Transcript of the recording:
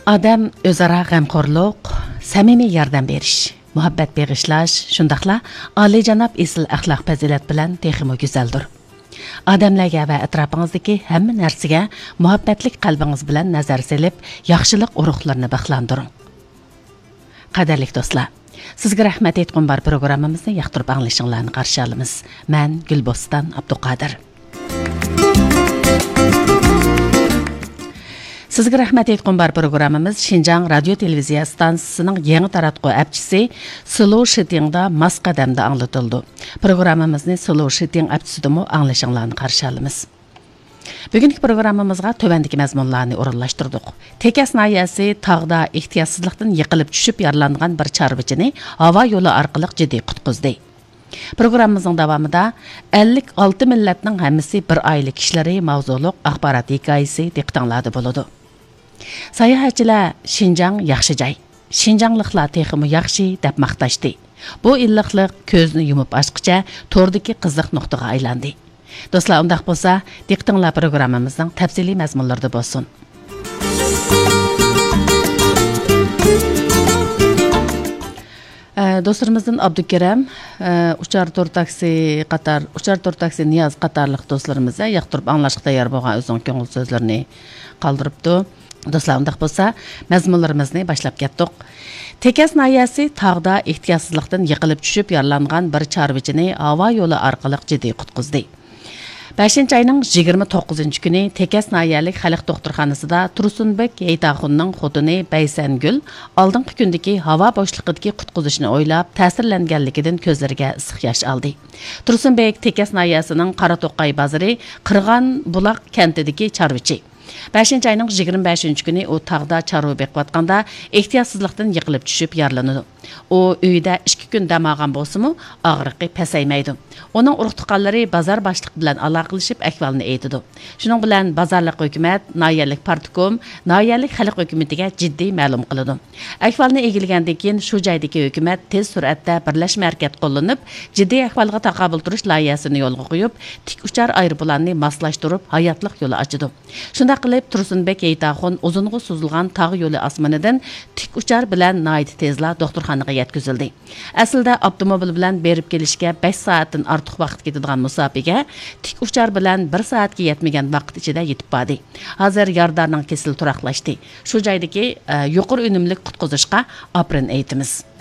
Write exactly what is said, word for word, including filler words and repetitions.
ئادەم ئۆزئارا غەمخورلۇق، سەمىمىي ياردەم بېرىش، مۇھەببەت بېغىشلاش، شۇنداقلا ئالىيجاناب ئېسىل ئەخلاق پەزىلەت بىلەن تېخىمۇ گۈزەلدۇر. ئادەملەرگە ۋە ئەتراپىڭىزدىكى ھەممە نەرسىگە مۇھەببەتلىك قەلبىڭىز بىلەن نەزەر سېلىپ، ياخشىلىق ئۇرۇقلىرىنى بىخلاندۇرۇڭ. قەدىرلىك دوستلار، سىزگە رەھمەت ئېيتقۇم بار پروگراممىمىزنى ياقتۇرۇپ ئاڭلىشىڭلارنى قارشى ئالىمىز. مەن گۈلبوستان ئابدۇقادىر. سىزگە رەھمەت ئېيتقۇم بار پروگراممىمىز شىنجاڭ رادىيو تېلېۋىزىيە ئىستانسىسىنىڭ يېڭى تاراتقۇ ئەپچىسى سلو شىتىڭدا ماس قەدەمدە ئاڭلىتىلىدۇ. پروگراممىمىزنى سلو شىتىڭ ئەپچىسىدىمۇ ئاڭلىشىڭلارنى قارشى ئالىمىز. بۈگۈنكى پروگراممىمىزغا تۆۋەندىكى مەزمۇنلارنى ئورۇنلاشتۇردۇق. تېكەس ناھىيەسى تاغدا ئېھتىياتسىزلىقتىن يىقىلىپ چۈشۈپ يارىلانغان بىر چارۋىچىنى ھاۋا يولى ئارقىلىق جىددىي قۇتقۇزدى. پروگراممىمىزنىڭ داۋامىدا ئەللىك ئالتە مىللەتنىڭ ھەممىسى بىر ئائىلە كىشىلىرى ماۋزۇلۇق ئاخبارات ھېكايىسى دىققىتىڭلاردا بولىدۇ. ساياھەتچىلەر شىنجاڭ ياخشى جاي، شىنجاڭلىقلار تېخىمۇ ياخشى دەپ ماختاشتى. بۇ ئىللىقلىق كۆزنى يۇمۇپ ئاچقىچە توردىكى قىزىق نۇقتىغا ئايلاندى. دوستلار، ئۇنداق بولسا، دىققىتىڭلار پروگراممىمىزنىڭ تەپسىلىي مەزمۇنلىرىدا بولسۇن. ئە، دوستلىرىمىزدىن ئابدۇكېرەم، ئە، ئۇچار تور تاكسى قاتار، ئۇچار تور تاكسى نىياز قاتارلىق دوستلىرىمىز، ئە، ياقتۇرۇپ ئاڭلاشقا تەييار بولغان ئۆزىنىڭ كۆڭۈل سۆزلىرىنى قالدۇرۇپتۇ. دوستلار، ئۇنداق بولسا، مەزمۇنلىرىمىزنى باشلاپ كەتتۇق. تېكەس ناھىيەسى تاغدا ئېھتىياتسىزلىقتىن يىقىلىپ چۈشۈپ يارىلانغان بىر چارۋىچىنى ھاۋا يولى ئارقىلىق جىددىي قۇتقۇزدى. بەشىنچى ئاينىڭ يىگىرمە توققۇزىنچى كۈنى تېكەس ناھىيەلىك خەلق دوختۇرخانىسىدا تۇرسۇنبېك ھېيتاخۇننىڭ خوتۇنى بەيسەنگۈل ئالدىنقى كۈندىكى ھاۋا بوشلۇقىدىكى قۇتقۇزۇشنى ئويلاپ، تەسىرلەنگەنلىكىدىن كۆزلىرىگە ئىسسىق ياش ئالدى. تۇرسۇنبېك تېكەس ناھىيەسىنىڭ قاراتوقاي بازىرى قىرغان بۇلاق كەنتىدىكى چارۋىچى. بەشىنچى ئاينىڭ يىگىرمە بەشىنچى كۈنى ئۇ تاغدا چارۋا بېقىۋاتقاندا ئېھتىياتسىزلىقتىن يىقىلىپ چۈشۈپ يارىلىنىدۇ. ئۇ ئۆيىدە ئىككى كۈن دەم ئالغان بولسىمۇ، ئاغرىقى پەسەيمەيدۇ. ئۇنىڭ ئۇرۇق-تۇغقانلىرى بازار باشلىقى بىلەن ئالاقىلىشىپ ئەھۋالنى ئېيتىدۇ. شۇنىڭ بىلەن بازارلىق ھۆكۈمەت، ناھىيەلىك پارتكوم، ناھىيەلىك خەلق ھۆكۈمىتىگە جىددىي مەلۇم قىلىدۇ. ئەھۋالنى ئىگىلىگەندىن كېيىن، شۇ جايدىكى ھۆكۈمەت تېز سۈرئەتتە بىرلەشمە ھەرىكەت قوللىنىپ، جىددىي ئەھۋالغا تاقابىل تۇرۇش لايىھەسىنى يولغا قويۇپ، تىك ئۇچار ئايروپىلاننى ماسلاشتۇرۇپ، ھاياتلىق يولى ئاچىدۇ. شۇنداق قىلىپ، تۇرسۇنبېك ھېيتاخۇن ئۇزۇنغا سوزۇلغان تاغ يولى ئاسمىنىدىن تىك ئۇچار بىلەن ناھايىتى تېزلا دوختۇرخانىغا يەتكۈزۈلدى. ئەسلىدە ئاپتوموبىل بىلەن بېرىپ كېلىشكە بەش سائەتتىن ئارتۇق ۋاقىت كېتىدىغان مۇساپىگە تىك ئۇچار بىلەن بىر سائەتكە يەتمىگەن ۋاقىت ئىچىدە يېتىپ باردى. ھازىر يارىدارنىڭ كېسىلى تۇراقلاشتى. شۇ جايدىكى، ئە، يۇقىرى ئۈنۈملۈك قۇتقۇزۇشقا ئاپىرىن ئېيتىمىز.